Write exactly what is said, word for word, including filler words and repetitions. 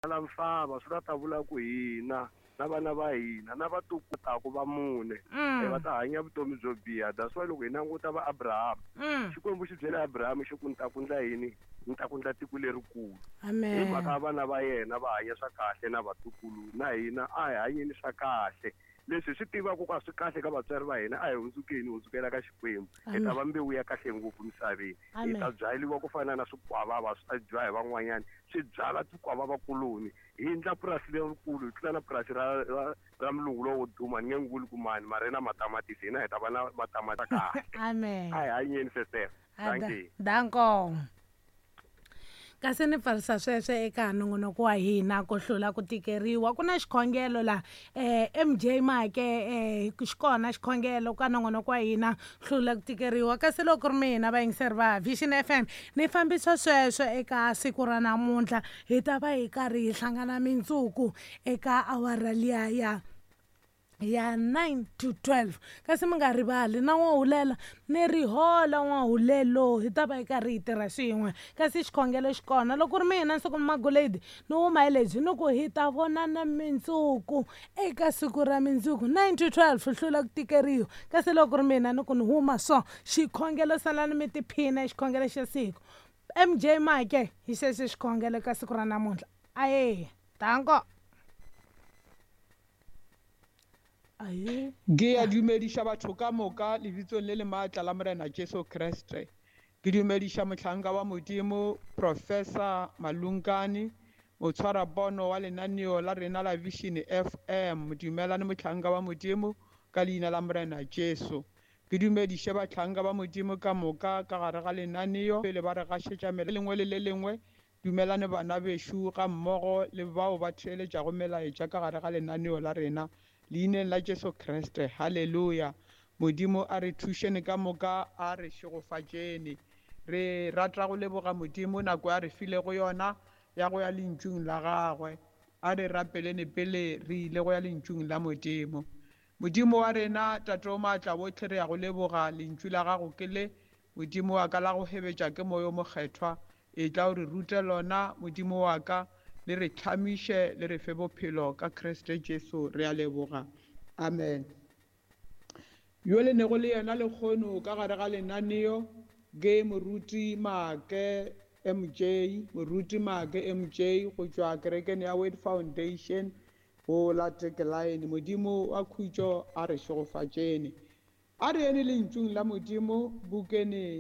La misava swi ta ta vula ku hina na vana va hina na vatukutaku va mune Mm. eh, va ta hanya vutomi byo biha. That's why loko hi languta va Abraham, Mm. Xikwembu xi byele Abraham xi ku ni ta ku ndla yini, ni ta ku ndla tiko lerikulu. Hi Amen. mhaka vana va yena va hanya swa kahle na vatukulu, na hina a hi hanyeni swa kahle. Leswi hi swi tivaka ku a swi kahle ka vatswari va hina, a hi hundzukeni, hi hundzukela ka Xikwembu. Hi ta va mbewu ya kahle ngopfu misaveni. Hi Amen. ta byaliwa ku fana na swikwavava swi ta dyiwa hi van'wanyana, swi byala tikwavava kuloni. Hi endla purasi lerikulu, hi tlula na purasi ra, ra, ra mulungu lowo duma, ni nge n'wi vuli ku mani, mara na matamatisi, hina hi ta va na matamatisi kahle. Amen. A hi hanyeni, sestere. Ah, da- Dankie. Danko. Kasi ni pfarisa sweswo eka nongonoko wa hina ku hlula ku tikeriwa. Ku na xikhongelo la, eh, M J Make, eh, xi kona xikhongelo ka nongonoko wa hina hlula ku tikeriwa. Kasi loko ri mina vayingiseri va Vision F M ni fambisa sweswo eka siku ra namuntlha, hi ta va hi karhi hi hlangana mindzuku eka awara liya ya ya nine to twelve. Kasi mi nga rivali na n'wahulela ni rihola n'wahulelo, hi ta va hi karhi hi tirha swin'we. Kasi xikhongelo xi kona. Loko ri mina Nsuku Magoledi ni huma hi lebyi ni ku hi ta vonana mindzuku eka siku ra mindzuku nine to twelve, hlula ku tikeriwa. Kasi loko ri mina ni ku ni huma so xikhongelo salani mi tiphina xikhongelo xa siku. M J Make hi xexo xikhongelo ka siku ra namuntlha. Aye, danko. Aye. Ke a dumediša batho ka moka lebitsong le le maatla la Morena Jesu Kriste. Ke dumediša mohlanka wa Modimo Professor Malungane, motshwarapono wa lenaneo la rena la Vision F M. Dumelane mohlanka wa Modimo ka leina la Morena Jesu. Ke dumediše bahlanka ba Modimo ka moka ka gare ga lenaneo pele ba re gašetša mele lengwe le le lengwe. Dumelane bana bešo ga mmogo le bao ba theeletšago melaetša ka gare ga lenaneo la rena. Leineng la Jesu Kriste, haleluya. Modimo a re thušene ka moka, a re šegofatšene. Re rata go leboga Modimo nako ya re filego yona ya go ya lentšung la gagwe. A re rapelene pele re ile go ya lentšung la Modimo. Modimo wa rena, Tate o maatla bohle, re ya go leboga lentšu la gago ke le. Modimo wa ka la go hebetša ke moya o mokgethwa. E tla o re rute lona, Modimo wa ka, le re tlhamiše, le re fe bophelo ka Kriste Jesu, re a leboga. Amen. Yo le nego le yena lekgono ka gare ga lenaneo ke Moruti Make M J, Moruti Make M J go tšwa kerekeng ya Word Foundation go la Tekelaene. Modimo wa khutšo a re šegofatšene. A re ene lentšung la Modimo bukene